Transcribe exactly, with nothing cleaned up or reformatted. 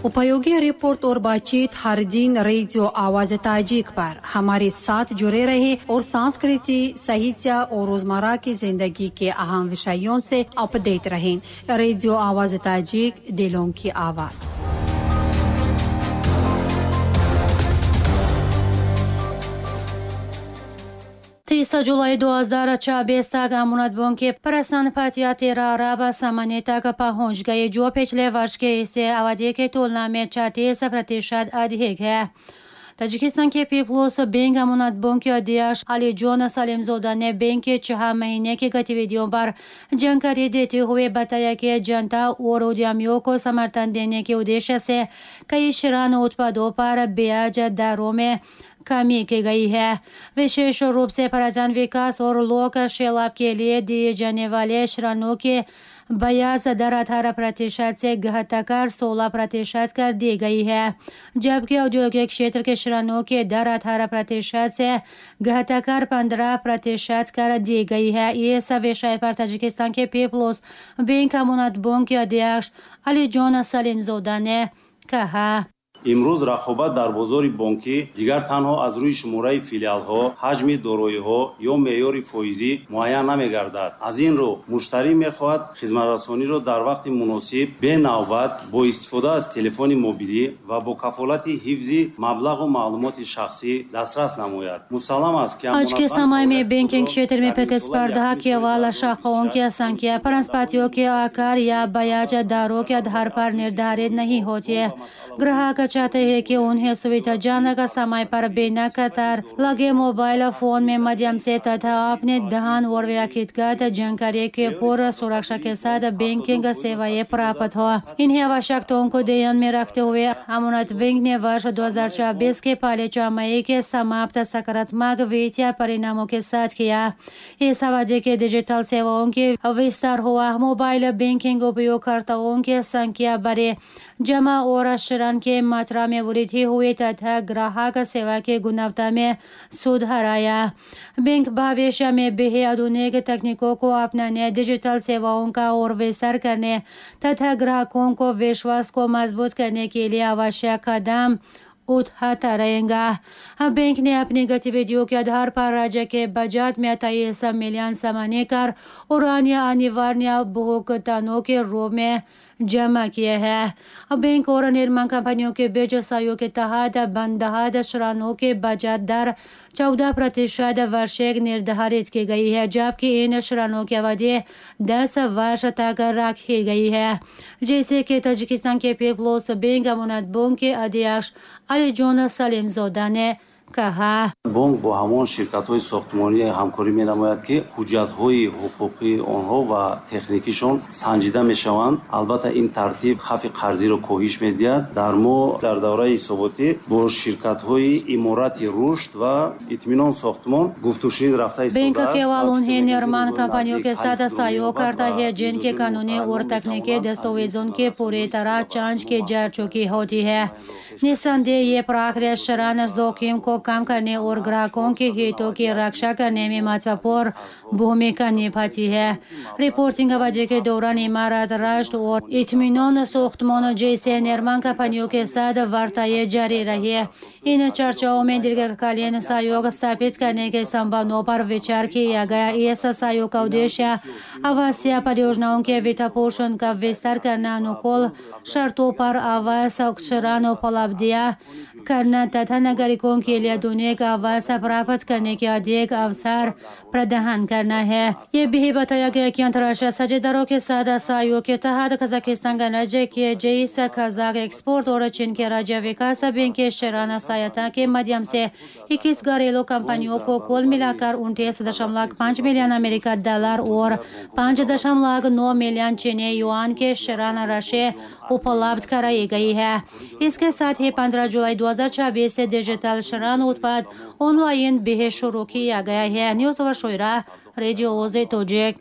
उपयोगी रिपोर्ट और बातचीत हर दिन रेडियो आवाज ताजिक पर हमारे साथ जुड़े रहे और संस्कृति, साहित्य और रोजमर्रा की जिंदगी के अहम विषयों से अपडेट रहें। रेडियो आवाज ताजिक, दिलों की आवाज। तीस जुलाई दो हज़ार चौबीस तक अमानत बैंक के प्रसन्न पातिया तेरह अरब सामान्य तक पहुंच गई, जो पिछले वर्ष के इसी अवधि की तुलना में छत्तीस प्रतिशत अधिक है। ताजिकिस्तान के पीपल्स बैंक अमानत बैंक के अध्यक्ष अलीजोन सलीमजोदा ने बैंक के छह महीने की गतिविधियों पर जानकारी देते हुए बताया कि जनता और उद्यमियों को समर्थन देने के उद्देश्य से कई ऋण उत्पादों पर ब्याज दरों में कमी की गई है। विशेष रूप से पर्यटन विकास और लोक सैलाब के लिए दिए जाने वाले ऋणों के ब्याज दर अठारह प्रतिशत से घटाकर सोलह प्रतिशत कर दी गई है, जबकि औद्योगिक क्षेत्र के ऋणों के दर अठारह प्रतिशत से घटाकर पंद्रह प्रतिशत कर दी गई है। इस विषय पर ताजिकिस्तान के पीपल्स बैंक अमानत बैंक के अध्यक्ष अलीजोन सलीमजोदा ने कहा, имрӯз рақобат дар бозори бонкӣ дигар танҳо аз рӯи шумораи филиалҳо, ҳаҷми дороиҳо ё меъёри фоизӣ муайян намегардад. Аз ин рӯ муштарӣ мехоҳад хизматрасониро дар вақти муносиб, бенавбат, бо истифода аз телефони мобилӣ ва бо кафолати ҳифзи маблағу маълумоти шахсӣ дастрас намояд. Мусаллам аст, ки आज के समय में बैंकिंग क्षेत्र में प्रतिस्पर्धा केवल शाखाओं की संख्या, परिसंपत्तियों के आकार या ब्याज दरों के आधार पर निर्धारित नहीं होती है। ग्राहक चाहते हैं कि उन्हें सुविधाजनक समय पर बिना कतार लगे मोबाइल फोन में माध्यम से तथा अपने धन और व्यक्तिगत जानकारी के पूर्ण सुरक्षा के साथ बैंकिंग सेवाएं प्राप्त हो। इन्हीं आवश्यकताओं को ध्यान में रखते हुए अमानत बैंक ने वर्ष दो हज़ार चौबीस के पहले छमाही के समाप्त सकारात्मक वित्तीय परिणामों के साथ किया। इस अवधि के डिजिटल सेवाओं के विस्तार हुआ। मोबाइल बैंकिंग उपयोगकर्ताओं की संख्या बढ़ी, जमा और ऋण के मात्रा में वृद्धि हुई तथा ग्राहक सेवा की गुणवत्ता में सुधार आया। बैंक भविष्य में भी आधुनिक तकनीकों को अपनाने, डिजिटल सेवाओं का और विस्तार करने तथा ग्राहकों को विश्वास को मजबूत करने के लिए आवश्यक कदम उठाता रहेगा। बैंक ने अपनी गतिविधियों के आधार पर राज्य के बजट में तेईस मिलियन सामान्य कर और अन्य अनिवार्य भुगतानों के रूप में जमा किए हैं। बैंक और निर्माण कंपनियों के बीच सहयोग के तहत बंधक ऋणों के बजट दर चौदह प्रतिशत वार्षिक निर्धारित की गई है, जबकि इन ऋणों की अवधि दस वर्ष तक रखी गई है। जैसे कि ताजिकिस्तान के पीपल्स बैंक अमानत बैंक के अध्यक्ष अलीजोन सलीमजोदा ने कहा, бонк бо ҳамон ширкатҳои сохтмонӣ ҳамкорӣ менамояд, ки ҳуҷҷатҳои ҳуқуқии онҳо ва техникишон санҷида мешаванд. Албатта, ин тартиб хавфи қарзиро коҳиш медиҳад. Дар мо дар давраи ҳисоботӣ бо ширкатҳои Иморати Рушд ва Итминон сохтмон гуфтушунид рафта बैंक केवल उन्हें निर्माण कंपनियों के साथ सहयोग करता है जिनके कानूनी और तकनीकी दस्तावेजों की पूरी तरह जांच की जा चुकी होती है। निस्संदेह ये प्रक्रिया ऋण जोखिम को कम करने और ग्राहकों के हितों की रक्षा करने में महत्वपूर्ण भूमिका निभाती है। रिपोर्टिंग अवधि के दौरान इमारत राष्ट्र और इत्मीनान सोख्तमान जैसे निर्माण कंपनियों के साथ वार्ताएं जारी रही। इन चर्चाओं में दीर्घकालीन सहयोग स्थापित करने के संभावनाओं पर विचार किया गया। इस सहयोग का उद्देश्य आवासीय परियोजनाओं के वित्तपोषण का विस्तार करना, अनुकूल शर्तों पर आवास ऋण उपलब्ध करना तथा नागरिकों के लिए आधुनिक आवास प्राप्त करने के अधिक अवसर प्रदान करना है। ये भी बताया गया कि अंतर्राष्ट्रीय साझेदारों के साथ सहयोग के तहत कजाकिस्तान गणराज्य के जैस कजाक एक्सपोर्ट और चीन के राज्य विकास बैंक के ऋण सहायता के माध्यम से इक्कीस घरेलू कंपनियों को कुल मिलाकर उनतीस दशमलव पाँच मिलियन अमेरिका डॉलर और पाँच दशमलव नौ मिलियन चीनी युआन के ऋण राशि उपलब्ध कराई गई है। इसके साथ ही पंद्रह जुलाई दो हज़ार छब्बीस से डिजिटल ऋण उत्पाद ऑनलाइन भी शुरू किया गया है। न्यूज़ ओवर शोरा, रेडियो ओजे तोजिक।